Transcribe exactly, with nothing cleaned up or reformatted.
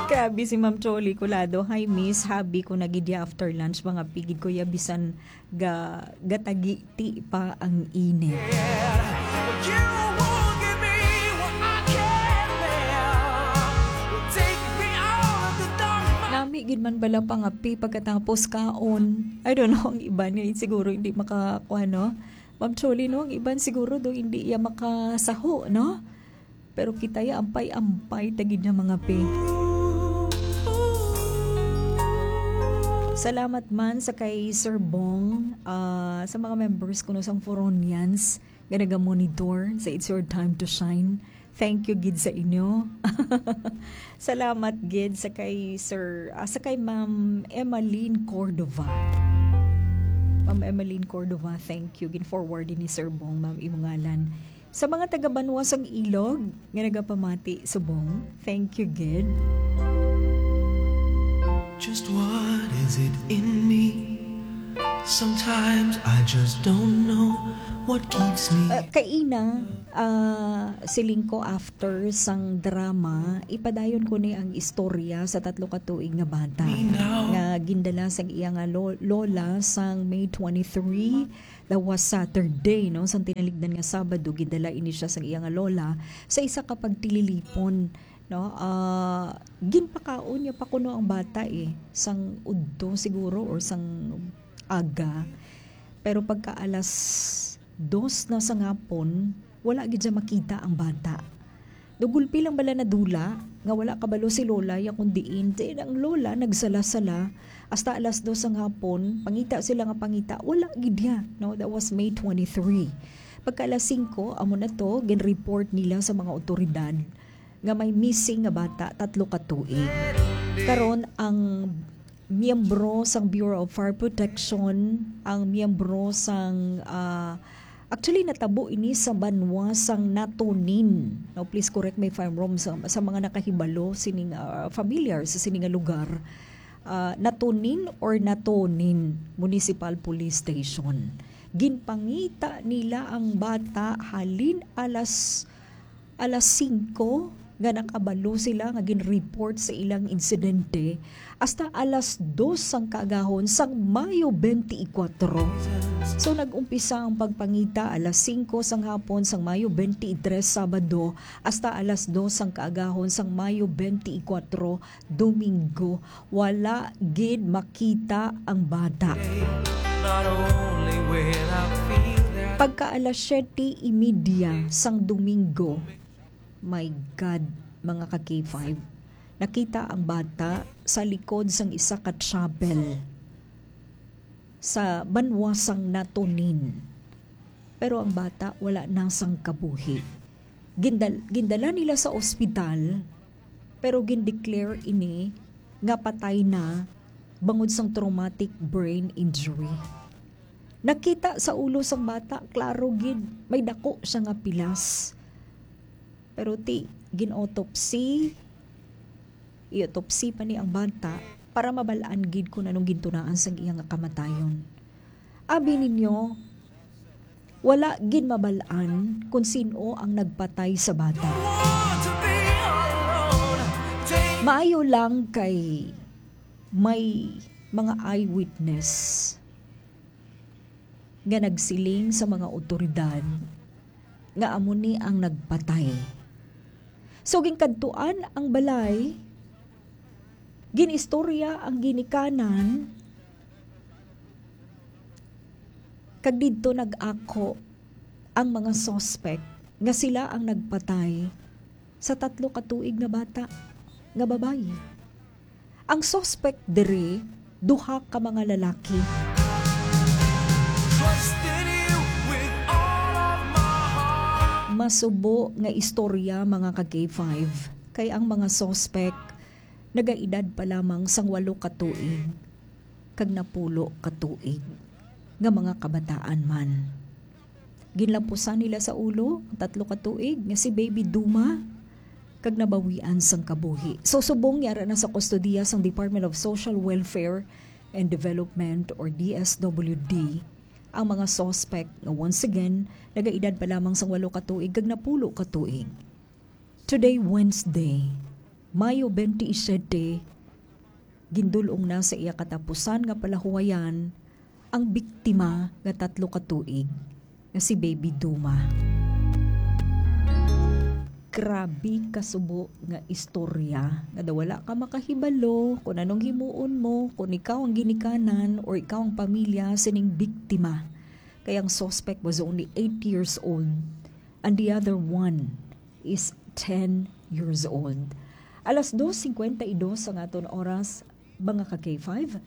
Grabe si Ma'am Choli Colado. "Hi, Miss. Habi ko na gid ya after lunch, mga pigid ko ya, bisan ga-, gatagiti pa ang init." Nami gid man bala pangapi pagkatapos kaon. I don't know, ang iban nga siguro hindi maka-, kuwan, no? Ma'am Choli, no? Ang iban siguro do hindi ya makasaho, no? Pero kita ya, ampay-ampay ta gid na mangapi. Salamat man sa kay Sir Bong, ah, sa mga members kuno sang Foronians nga naga-monitor sa It's Your Time to Shine. Thank you gid sa inyo. Salamat gid sa kay Sir, ah, sa kay Ma'am Emmeline Cordova. Ma'am Emmeline Cordova, thank you. Gin-forward ni Sir Bong, ma'am, imong ngalan. Sa mga taga-banwa sang Ilog nga nagapamati subong, thank you gid. Just what is it in me? Sometimes I just don't know what keeps me. Uh, kaina, uh, siling ko after sang drama, ipadayon ko ni ang istorya sa tatlo ka tuig nga bata nga gindala sang iya nga lo-, lola sang May twenty-three. That was Saturday, no? Sang tinaligdan nga Sabado, gindala ini siya sang iya nga lola sa isa ka pagtililipon, no? Ah, ginpakaon niya pa kuno ang bata, eh, sang udto siguro or sang aga. Pero pagka alas dos na sa ngapon, wala gid siya makita ang bata. Daw gulpi lang bala nadula nga wala kabalo si lola ya kung diin. Then ang lola nagsala-sala hasta alas dos sang hapon, pangita sila nga pangita, wala gid ya, no? That was May twenty-three. Pagka alas singko, amo na to, gin-report nila sa mga awtoridad nga may missing nga bata, tatlo ka tuig. Karon, ang miyembro sang Bureau of Fire Protection, ang miyembro sang, ah, actually, natabo ini sa banwa sang Natonin. No, please correct me if I'm wrong, sa, sa mga nakahibalo sining, ah, familiar sa sini nga lugar. Ah, Natonin or Natonin Municipal Police Station. Ginpangita nila ang bata halin alas alas singko nga nakabalo sila nga gin-report sa ilang insidente hasta alas dos sang kaagahon sang Mayo twenty-four. So, nag-umpisa ang pagpangita alas singko sang hapon sang Mayo twenty-three, Sabado, hasta alas dos sang kaagahon sang Mayo twenty-four, Domingo. Wala gid makita ang bata. Pagka alas siyete y media sang Domingo, my God, mga ka K five, nakita ang bata sa likod sang isa ka chapel sa banwa sang Natonin. Pero ang bata wala na sang kabuhi. Gindal-, gindala nila sa ospital, pero gindeclare ini nga patay na bangod sang traumatic brain injury. Nakita sa ulo sang bata, klaro gid, may dako siya nga pilas. Pero ti, gin-autopsy, i-autopsy pa ni ang bata para mabal-an gid kung anong gintunaan sang iya nga kamatayon. Abi ninyo, wala gid mabal-an kung sin-o ang nagpatay sa bata. Maayo lang kay may mga eyewitness nga nagsiling sa mga awtoridad nga amo ni ang nagpatay. So, ginkadtuan ang balay, ginistorya ang ginikanan, kag didto nag-ako ang mga suspect nga sila ang nagpatay sa tatlo ka tuig nga bata nga babayi. Ang suspect diri, duha ka mga lalaki. Masubo nga istorya, mga ka K five, kay ang mga suspect nagaedad pa lamang sang walo ka tuig kag napulo ka tuig nga mga kabataan man. Ginlapusan nila sa ulo ang tatlo ka tuig nga si Baby Duma kag nabawian sang kabuhi. So, subong yara na sa kustodiya sang Department of Social Welfare and Development or D S W D ang mga suspect nga, once again, nagaedad pa lamang sang walo ka tuig kag napulo ka tuig. Today, Wednesday, Mayo twenty-seven, gindul-ong na sa iya katapusan nga palahuwayan ang biktima nga tatlo ka tuig nga si Baby Duma. Grabe ka subo nga istorya nga daw wala ka makahibalo kung anong himuon mo, kung ikaw ang ginikanan or ikaw ang pamilya sining biktima. Kay ang suspect was only eight years old and the other one is ten years old. Alas dos cincuenta y dos ang aton oras, mga ka K five.